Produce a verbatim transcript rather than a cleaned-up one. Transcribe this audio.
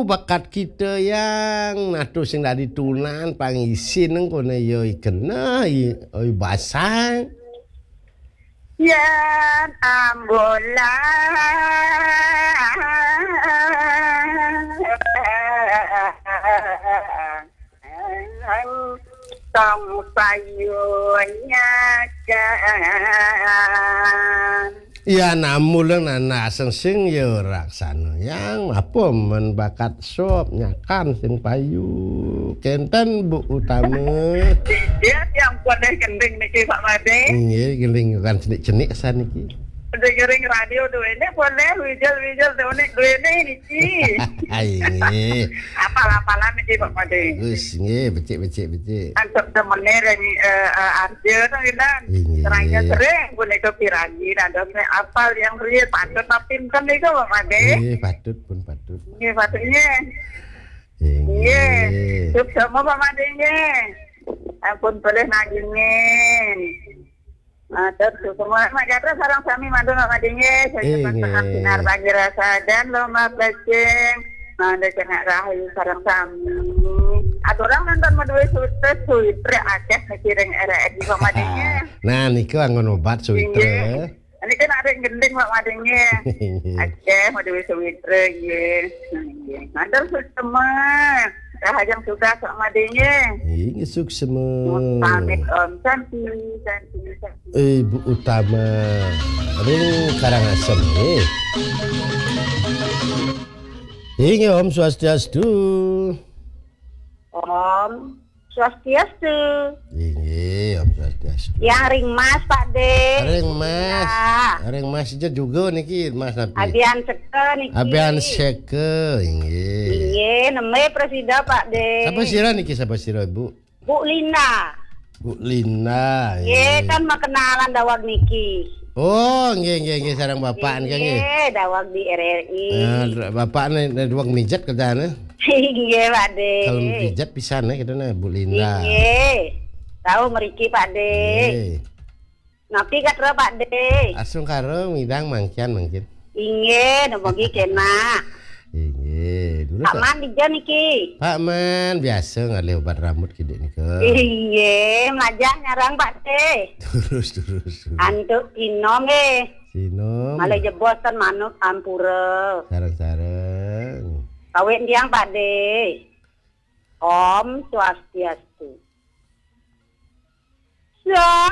bakat kita yang natu sing dadi tunan pangisin nang kono ya ikena i oi basang. Yan ambulan tong payunyakan. Ya namulang nana sing ya raksana yang apa men bakat sop nyakan sing payu kenten Bu Utama. Dia yang boleh gending niki Pak Made. Nggih, gending kan cenik-cenik saniki. Dengerin radio duene boleh, wijel-wijel duene duene niki. Ayo nggih. Apal-apalan niki Pak Made. Bagus nggih, becik becik becik. Antuk temene ring eh, eh, Arjo to nginan. Inggih. Serangnya sering punika pirangi dados nek apal yang riye patut apa pinten niku Pak Made. Nggih, patut pun patut. Nggih, patut nggih. Inggih. Nggih. Suksma Pak Made nggih. Ampun boleh nagingin. Matur suksma Mak Jatra sareng sami mantu Mak Madinge. Saya Inggih. Sehat sinar pagi rasa dan lomba plecing. Mangda kena rahayu sareng sami. Aturang nonton madue sutes suitre akeh mikiring R R I Mak Madinge. Nah, niku anggon obat suitre. Inggih. Ini kan ada yang gending Mak Madinge. Inggih. Akeh madue suitre nggih. Nggih. Matur suksma. Rahajeng tugas Mak Madinge. Inggih suksma. Pamit Om Santi, Santi, Santi. Ibu Utama ring Karangasem nggih. Inggih Om Swastiastu. Om Swastiastu. Inggih Om Swastiastu. Yang ring Mas Pak De. Ring Mas. Ya. Ring Mas aja juga niki Mas Napi. Abian Seke niki. Abian Seke inggih. Inggih, neme presida Pak De. Sapa sira niki sapa sira Ibu? Bu Lina. Bu Lina. Nggih, kan makenalan dawag niki. Oh, nggih nggih nggih sareng bapak nggih nggih. Nggih, dawag di R R I. Nah, bapak nih dawag mijat katanya. Nggih, Pak De. Kalau mijat pisan ya kita nih Bu Lina. Nggih. Tahu meriki Pak De. Nggih. Napi katra Pak De? Asung karo midang mangkian mangkin. Inggih, nemogi kena. Inggih, dulu Pak Man dija niki. Pak Man biasa ngalih obat rambut kidik nika. Inggih, mlajah nyarang Pak De. Terus terus. Antuk Tino nggih. Tino. Malih jebos ten manut ampura. Sareng-sareng. Kawit tiang Pak De. Om Swastiastu. Sa